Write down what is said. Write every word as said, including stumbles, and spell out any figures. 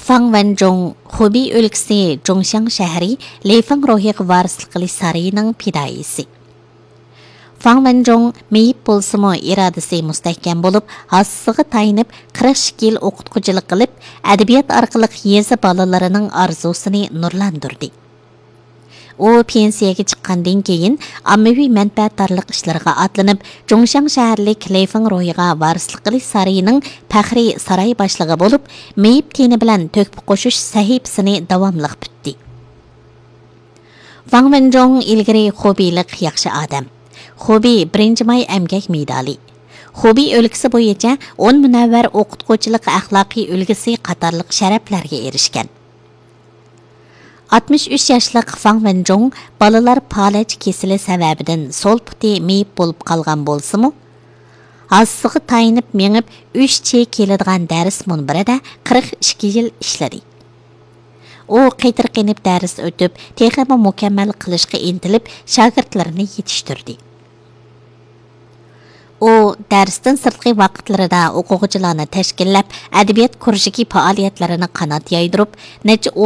فاڭ ۋەنجۇڭ، خۇبېي ئۆلكىسى جۇڭشياڭ شەھىرى لېفېڭ روھىغا ۋارىسلىق قىلىش سارىيىنىڭ پىدائىيسى. فاڭ ۋەنجۇڭ مېيىپ بولسىمۇ، ئىرادىسى مۇستەھكەم بولۇپ، ھاسىسىغا تايىنىپ، قىرىق ئىككى يىل ئوقۇتقۇچىلىق قىلىپ، ئەدەبىيات ئارقىلىق يېزا بالىلىرىنىڭ ئارزۇسىنى نۇرلاندۇردى. ئۇ پېنسىيەگە چىققاندىن كېيىن، ئاممىۋى مەنپەئەتدارلىق ئىشلىرىغا ئاتلىنىپ، جۇڭشياڭ شەھەرلىك لېفېڭ روھىغا ۋارىسلىق قىلىش سارىيىنىڭ پەخرىي ساراي باشلىقى بولۇپ، مېيىپ تېنى بىلەن تۆھپە قوشۇش سەھىپىسىنى داۋاملىق پۈتتى. ۋاڭ ۋېنجۇڭ ئىلگىرى خۇبېيلىق ياخشى ئادەم. خۇبېي بىرىنچى ماي ئەمگەك مېدالى. خۇبېي ئۆلكىسى بويىچە ئون مۇنەۋۋەر ئوقۇتقۇچىلىق ئەخلاقىي ئۈلگىسى قاتارلىق شەرەپلەرگە ئېرىشكەن. ئاتمىش ئۈچ ياشلىق فاڭ ۋېنجۇڭ بالىلار پالەچ كېسىلى سەۋەبىدىن سول پۇتى مېيىپ بولۇپ قالغان بولسىمۇ، ھاسىسىغا تايىنىپ مېڭىپ، ئۈچ چېي كېلىدىغان دەرس مۇنبىرىدە قىرىق ئىككى يىل ئىشلىدى. ئۇ قېتىرقىنىپ دەرس ئۆتۈپ، تېخىمۇ مۇكەممەل قىلىشقا ئىنتىلىپ، شاگىرتلىرىنى يېتىشتۈردى. ئۇ دەرستىن سىرتقى ۋاقىتلىرىدا ئوقۇغۇچىلارنى تەشكىللەپ، ئەدەبىيات كۇرژۇكى پائالىيەتلىرىنى قانات يايدۇرۇپ، نەچچە ئون